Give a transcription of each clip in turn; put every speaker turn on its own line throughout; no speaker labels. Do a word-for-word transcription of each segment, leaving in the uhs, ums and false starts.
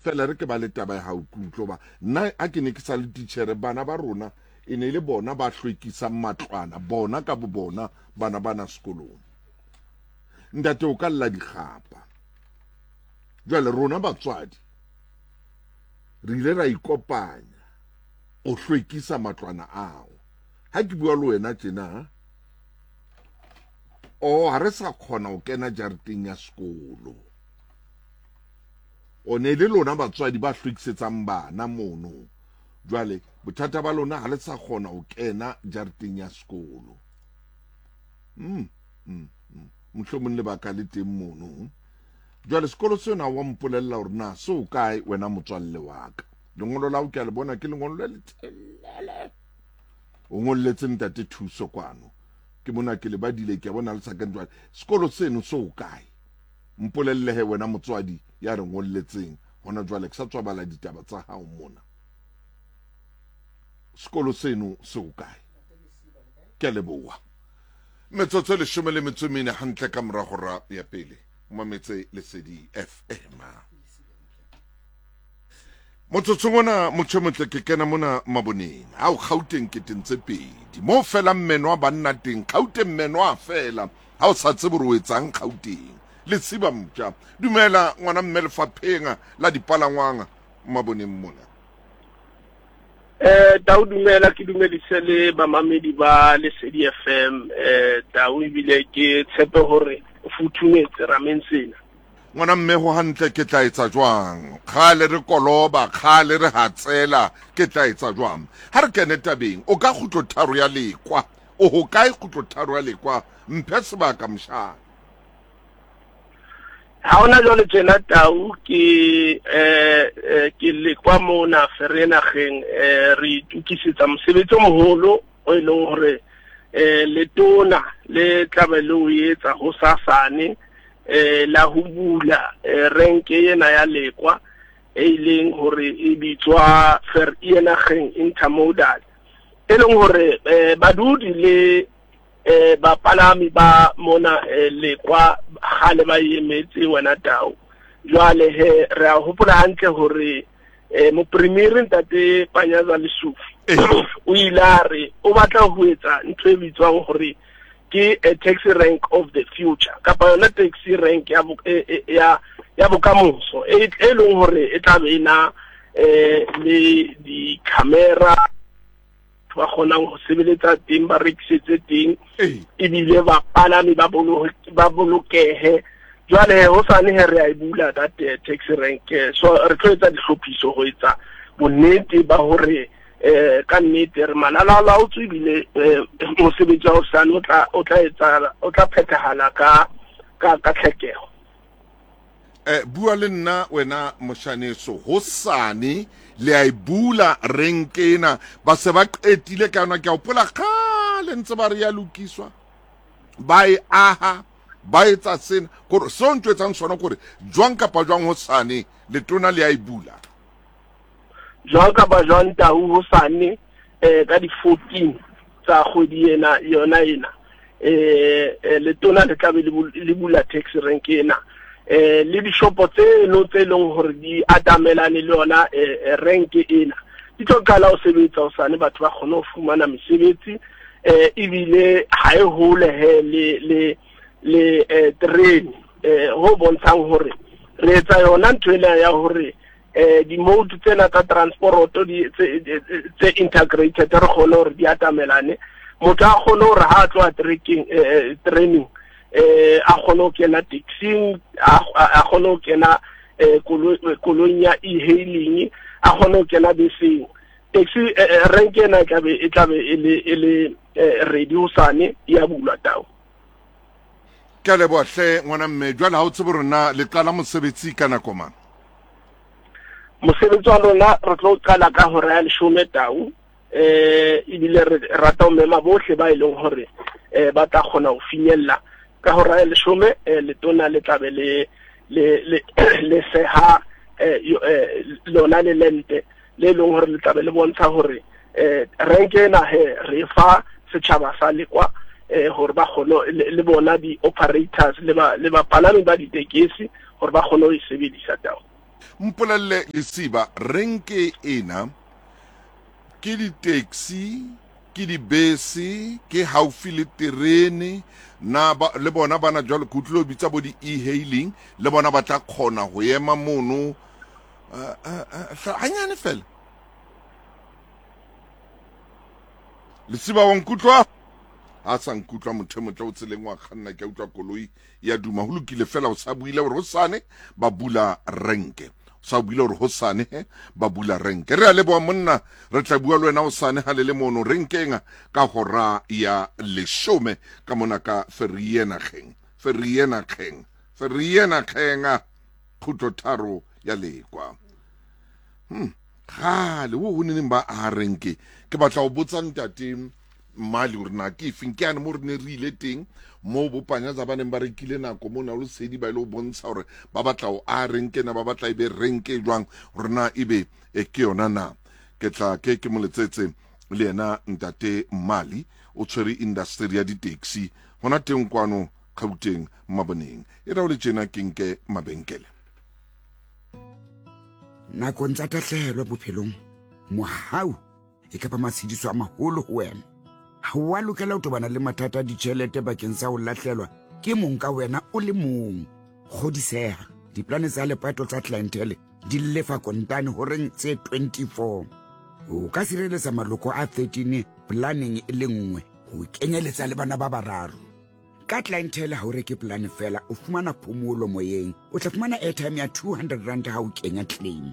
Fela re ke ba le taba ya hao ke utlwe ba nna a ke ne ke sa le titjhere, bana ba rona e ne le bona ba hlwekisang matlwana, bona ka bo bona bana bana sekolong. Ntate o ka lla dikgapa. Jwale rona batswadi re ile ra ikopanya o hlwekisa matlwana ao. Ha ke bua le wena tjena, o ha re sa kgona ho kena jareteng ya sekolo. O ne le lona batswadi ba hlwekisetsang bana mono. Jwale bothata ba lona ha le sa kgona ho kena jareteng ya sekolo. Mm, mm, mm. Mohlomong lebaka le teng mono. Jwale sekolo sena wa mpolella hore na se o kae wena motswalle wa ka. Lengolo la hao ke a le bona, ke lengolo le letelele. O ngolletse ntate Thuso kwano. Ke mona ke le badile, ke a bona le sa kene jwale. Sekolo seno se o kae? Mpolelle he wena motswadi ya re ngolletseng hona jwale, ke sa tswa bala ditaba tsa hao mona. Sekolo seno se o kae? Ke a leboha. Metsotso e leshome le metso e mene hantle ka mora hora ya pele. O mametse Lesedi F M. Motsotsong ona motho e motle ke kena mona maboneng. Ao Gauteng ke teng tse pedi. Mo felang meno a banna teng, Gauteng meno a fela. Ha o sa tsebe hore o etsang Gauteng. Lesiba mtja. Dumela ngwana mme lefapheng la dipalangwang maboneng mona.
Eh, Tau dumela, ke dumedise le bamamedi ba Lesedi F M. Eh, Tau ebile ke tshepe hore o futhumetse rameng sena.
Ngwana mme ho hantle ke tla etsa jwang? Kgale re koloba, kgale re hatsela, ke tla etsa jwang? Ha re kene tabeng, o ka kgutlo tharo ya Lekwa. O ho kae kgutlo tharo ya Lekwa? Mphe sebaka mshana.
Ha hona jwale tjena Tau ke, eh, eh, ke Lekwa mona Vereeniging, eh, re itokisetsa mosebetsi o moholo o e leng hore, eh, letona le tlabe le o etsa hosasane, eh, la ho bula, eh, renke ena ya Lekwa e leng hore e bitswa Vereeniging Intermodal, e leng hore, eh, badudi le, eh, bapalami ba mona, eh, Lekwa kgale ba emetse wena Tau. Jwale he re a hopola hantle hore, eh, mopremiere ntate Panyaza Lesufi
Eh.
o ile a re o batla ho etsa ntho e bitswang hore ke a taxi rank of the future, kapa yona taxi rank ya bo-, e, e, ya, ya bokamoso e, e leng hore e tla be e na, eh, le di-camera ba kgonang ho sebeletsa teng, ba rekisetse teng,
Ee.
ebile bapalami ba bolo-, ba bolokehe. Jwale hosane he re a e bula that, eh, taxi rank, eh, so re tlo etsa dihlophiso ho etsa bonnete ba hore, eh, ka nnete re malala-a-laotswe ebile, eh, mosebetsi wa hosane o tla, o tla etsa, o tla phethahala ka, ka, ka tlhokeho.
Eh, bua le nna wena moshaneso, hosane le a e bula renke ena, ba se ba qetile ka yona. Ke a hopola kgale ntse ba re ya lokiswa, ba e aha, ba etsa sena. Kore seo ntho etsang sona kore jwang kapa jwang hosane letona le a e bula.
Jwang kapa jwang Tau hosane, eh, ka di-fourteen tsa kgwedi ena, yona ena, eh, eh, letona le tlabe le bul-, le bula taxi rank ena. Eh, le dishopo tseno tse leng hore di atamelane le yona, eh, eh, rank ena di tlo qala ho sebetsa hosane, batho ba kgone ho fumana mesebetsi, eh, ebile ha e hole he le, le, le, eh, terene, eh, ho bontshang hore re etsa yona ntho ena ya hore, eh, di-mode tsena tsa transporoto di, tse, tse, tse integrated re kgone hore di atamelane. Motho a kgone hore ha a tloha trekeng, eh, eh, training, eh, a kgone ho kena taxing, a, a, a kgone ho kena, eh, kolo-, koloing ya e-hailing, a kgone ho kena beseng. Taxi, eh, eh, rank ena e tlabe, e tlabe e le, e le, eh, ready hosane, ya bulwa Tau.
Ke a leboha hle ngwana mme. Jwale ha o tsebe hore na le qala mosebetsi ka nako mang?
Mosebetsi wa lona re tlo qala ka hora ya leshome Tau, eh, ebile re rata ho mema bohle ba e leng hore, eh, ba tla kgona ho finyella ka hora ya leshome, eh, letona le tlabe le, le, le, le seha, eh, yo, eh, lona le lente le leng hore le tlabe le bontsha hore, eh, renke ena he re fa setjhaba sa Lekwa, eh, hore ba kgone le, le bona di-operators le ba, le bapalami ba ditekesi hore ba kgone ho e sebedisa Tau.
Mpolelle Lesiba, renke ena ke di-taxi, ke dibese, ke haufi le terene, na ba, le bona bana jwalo ke utlwile o bitsa bo di-e-hailing, le bona ba tla kgona ho ema mono uh, uh, uh, hanyane fela. Lesiba wa nkutlwa? Ha sa nkutlwa motho e motle o tseleng wa kganna, ke a utlwa koloi ya duma. Ho lokile fela, o sa buile hore hosane ba bula renke. O sa buile hore hosane he ba bula renke. Re a leboha monna, re tla bua le wena hosane ha le le mono renkeng ka hora ya leshome ka mona ka Vereeniging. Vereeniging. Vereeniging. Khutlo tharo ya Lekwa. Hmm. Kgale wo ho neng ba a renke. Ke batla ho botsa ntate Mali hore na ke efeng, ke yane mo re ne re ile teng moo bo Panyaza ba neng ba rekile nako mona o lesedi ba ile ho bontsha hore ba batla ho a renke na ba batla ebe renke jwang, hore na ebe e ke yona na. Ke tla ke ke moletsetse le yena ntate Mali, o tshwere industry ya di-taxi hona teng kwano Gauteng Maboneng. E ra o le tjena ke nke mabenkele.
Nakong tsa tahlehelo bophelong, mohau e kapa matshediso a maholo ho wena. Ha wa lokela ho tobana le mathata a ditjhelete bakeng sa ho lahlelwa ke mong ka wena o le mong. Kgodiseha, diplane tsa lepato tsa clientele di lefa kontane horeng tse twenty-four. O ka sireletsa maloko a thirteen planeng e le nngwe, ho kenyeletsa le bana ba bararo. Ka clientele ha o reke plane fela, o fumana phomolo moyeng. O tla fumana airtime ya two hundred rand ha o kenya claim.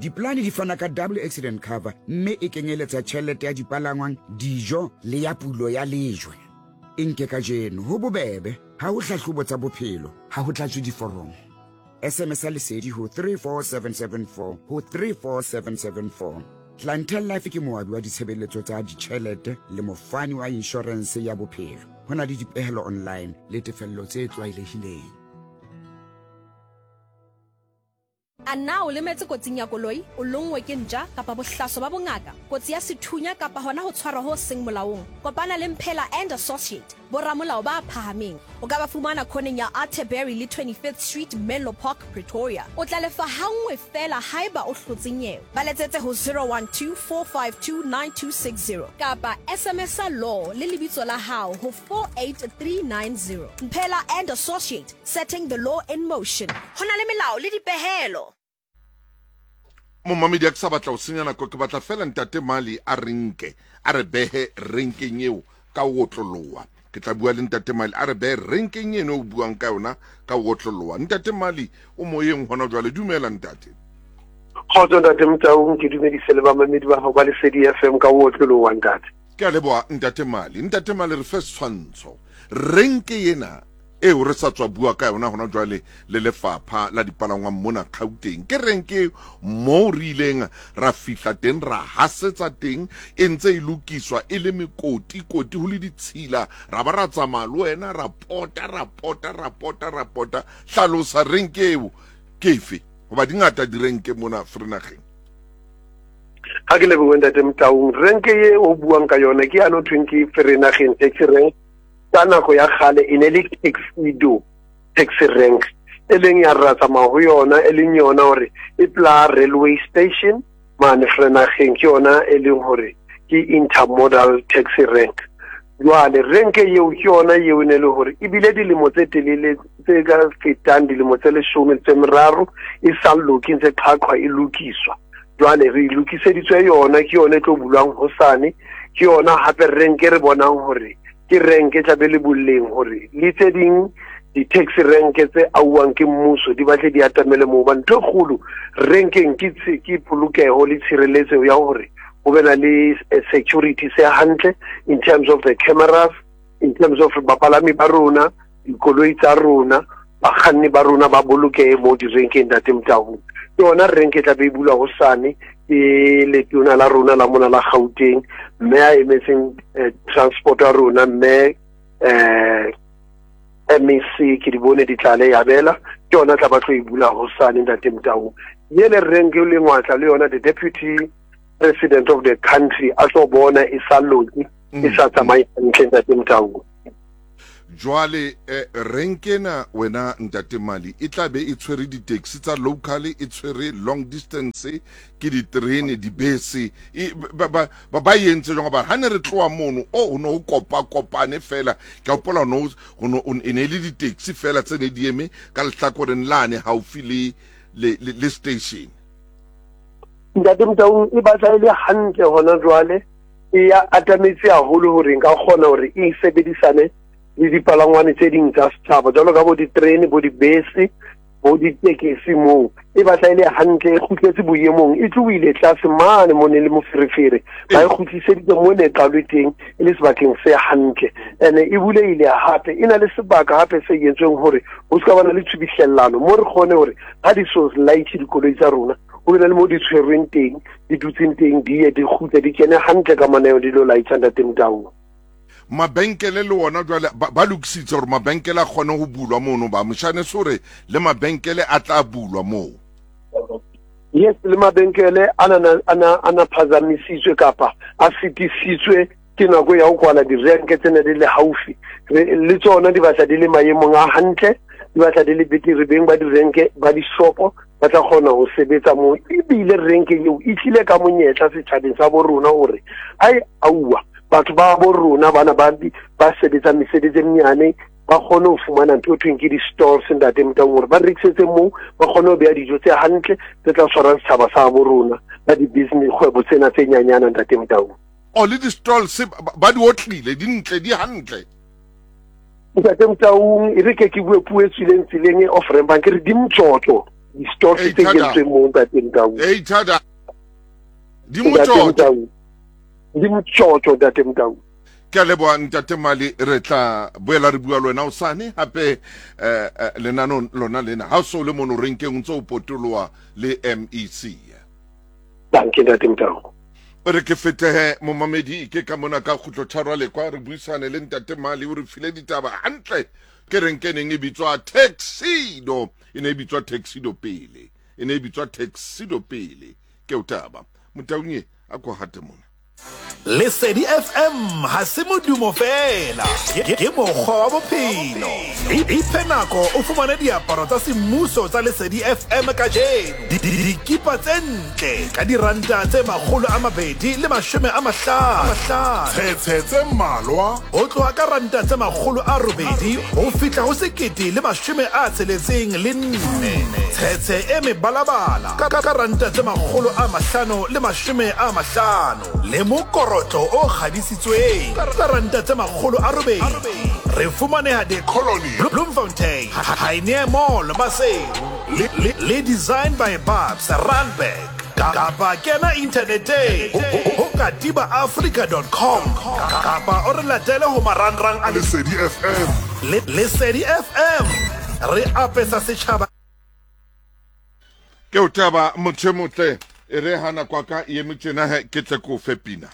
Diplane di fana ka double accident cover mme e kenyeletsa tjhelete ya dipalangwang, dijo le ya pulo ya lejwe. E nke kajeno ho bobebe, ha ho hlahlobo tsa bophelo, ha ho tlatswe diforomo. S M S lesedi ho three four seven seven four ho three four seven seven four. Clientele Life ke moabi wa ditshebeletso tsa ditjhelete le mofani wa insurance ya bophelo. Ho na le dipehelo online le tefello tse tlwaelehileng.
A na o lemetse kotsing ya koloi, o longwe ke ntja kapa bohlaso ba bongaka, kotsi ya sethunya kapa hona ho tshwarwa ho seng molaong. Kopana le Mphela and Associate, boramolao ba phahameng. O ka ba fumana khoneng ya Atterbury le twenty-fifth Street, Menlo Park, Pretoria. O tla lefa hangwe fela haeba o hlotse nyewe. Ba letsetse ho zero one two four five two nine two six zero kapa S M S law le lebitso la hao ho four eight three nine zero. Mphela and Associate, setting the law in motion. Ho na le melao le dipehelo.
Momamedi a ke sa batla ho senya nako, ke batla fela ntate Mali a renke, a re behe renkeng eo ka ho otloloha. Ke tla bua le ntate Mali a re behe renkeng eno o buang ka yona ka ho otloloha. Ntate Mali o moyeng hona jwale, dumela ntate.
Kgotso ntate Motaung, ke dumedise le bamamedi ba hao ba Lesedi F M ka ho otloloha ntate.
Ke a leboha ntate Mali. Ntate Mali, re fe setshwantsho. Renke ena eo re sa tswa bua ka yona hona jwale le lefapha la dipalangwang mona Gauteng, ke renke moo re ileng ra fihla teng, ra hasetsa teng, e ntse e lokiswa e le mekoti koti ho le ditshila, ra ba ra tsamaya le wena ra pota ra pota ra pota ra pota. Hlalosa renke eo ke efe, hoba di ngata direnke mona Vereeniging.
Ha ke lebohe ntate Motaung. Renke e o buang ka yona ke ya no thweng ke Vereeniging taxi rank. Ka nako ya kgale e ne le Taxido taxi rank, e leng ya ra tsamaya ho yona, e leng yona hore e pla railway station mane Vereeniging, ke yona e leng hore ke intermodal taxi rank. Jwale renke eo ke yona eo e ne le hore ebile dilemo tse telele tse ka fetang dilemo tse leshome tse meraro e sa loke, ntse qhaqhwa e lokiswa. Jwale re lokiseditswe yona, ke yona e tlo bulwang hosane, ke yona hape renke re bonang hore ke renke tla be le boleng hore le tse ding di-taxi renke tse auwang ke mmuso di batle di atamele moo. Ba ntho e kgolo renkeng ke ke polokeho le tshireletso ya hore ho be na le security se hantle in terms of the cameras, in terms of bapalami ba rona, dikoloi tsa rona, bakganni ba rona ba bolokehe mo direnkeng ntate Motaung. Ke yona renke tla be e bulwa hosane ke letona la rona la mona la Gauteng, mme a emetseng transport ya rona, mme eh M E C ke di bone di tlale ya bela, ke yona tla ba tlo e bula hosane ntate Motaung. Yele renke le ngwatla le yona the deputy president of the country a tlo bona e sa loke, e sa tsamaye hantle ntate Motaung.
Jwale eh, renkena wena ntate Mali e tla be e tshwere di-taxi tsa local, e tshwere long distance, ke diterene, dibese, e, ba ba ba entse jwang? Ba ha ne re tloha mono o no kopa kopane fela, ke hopola no no e ne le di-taxi fela tse ne di eme ka lehlakoreng lane haufi le le le station.
Ntate Motaung, e batla e le hantle hona jwale, e ya atametse haholo hore nka kgona hore e sebedisane le dipalangwane tse ding tsa setjhaba jwalo ka bo diterene, bo dibese, bo ditekesi. Moo e batla e le hantle, e kgutletse boemong, e tlohile tlase mane mo ne le moferefere, ba e kgutliseditse mo ne e qalwe teng, e le sebakeng se hantle. Ene e bulehile hape, e na le sebaka hape se entsweng hore ho se ka bana le tshubihlellano, mo re kgone hore ha di so light dikoloi tsa rona, ho be le mo di tshwerweng teng, di dutseng teng, di ye di kgutle, di kene hantle ka maneo, di lo light ntate Motaung.
Mabenkele le wona jwale ba lokisitse hore mabenkele a kgone ho bulwa mono, ba moshane sore le mabenkele a tla bulwa moo.
Yes, le mabenkele ana ana ana phazamisitswe kapa a sitisitswe ke nako ya ho kwala direnke tse ne di le haufi, le tsona di batla di le maemong a hantle, di batla di le betere, beng ba direnke ba dishopo ba tla kgona ho sebetsa moo. Ebile renke eo e tlile ka monyetla setjhabeng sa bo rona hore ai auwa batho ba bo rona bana ba ba sebetsa mesebetsi e menyane ba kgone ho fumana ntho e thweng ke di-stores ntate Motaung, hore ba rekisetse moo, ba kgone ho beha dijo tse hantle tse tla tshwarang setjhaba sa bo rona ba di-business kgwebo tsena tse nyanyana ntate Motaung.
O le di-stalls ba di otlile, di ntle, di hantle
ntate Motaung. E re ke ke bue puo e tswileng tseleng e off-ramp, ke re di motjotjo di-stalls tse kentsweng moo ntate Motaung.
Ei thada, di motjotjo,
di motjotjo ntate Motaung.
Ke a leboha ntate Mali, re tla boela re bua le wena hosane hape eh, lenanong lona lena ha o so le mono renkeng o ntso o potoloha le M E C.
Danke ntate Motaung.
Re ke fetehe momamedi ke ka mona ka kgutlo tharo le kwa re buisane le ntate Mali, o re file ditaba hantle. Ke renke neng e bitswa Taxido, e ne e bitswa Taxido pele, e ne e bitswa Taxido pele. Ke o taba Motaung a ko hate mona.
Lesedi F M ha se modumo fela, ke mokgwa wa bophelo. Iphe nako o fumane diaparo tsa semmuso tsa Lesedi F M kajeno. Dikipa tse ntle ka diranta tse makgolo a mabedi le mashome a mahlano.
Tshetse tse mmalwa
ho tloha ka ranta tse makgolo a robedi ho fihla ho sekete le mashome a tsheletseng le nne. Tshetse e mebalabala ka ka ranta tse makgolo a mahlano le mashome a mahlano. Le mokorotlo o kgadisitsweng ka ranta tse makgolo a robedi. Re fumaneha The
Colony,
Bloemfontein, Pioneer Mall, Maseru, le, le, le Design by Babs, Randburg. Kapa kena inthaneteng ho katiba africa dot com kapa o re latele ho marangrang a
Lesedi F M.
Lesedi F M, re apesa setjhaba.
Ke o taba motho e motle, e re hana kwa ka e eme tjena he, ke tle ko fe pina.